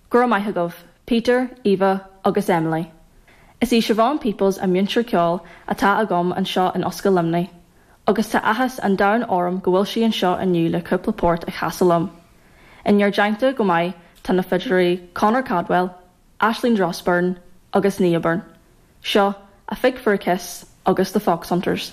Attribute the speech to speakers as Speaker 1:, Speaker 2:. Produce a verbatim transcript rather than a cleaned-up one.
Speaker 1: Go raibh maith agaibh, Peter, Eva agus Emily. Is í Siobhan Peoples an múinteoir ceoil atá agam anseo in Ollscoil Luimnigh, agus tá áthas an domhain orm go bhfuil sí anseo inniu le cúpla port a chasadh liom. Inár dteannta chomh maith tá na fidléirí Conor Cadwell, Ashleen Drossburn agus Nia Byrne. Seo a Fig for a Kiss agus the Fox Hunters.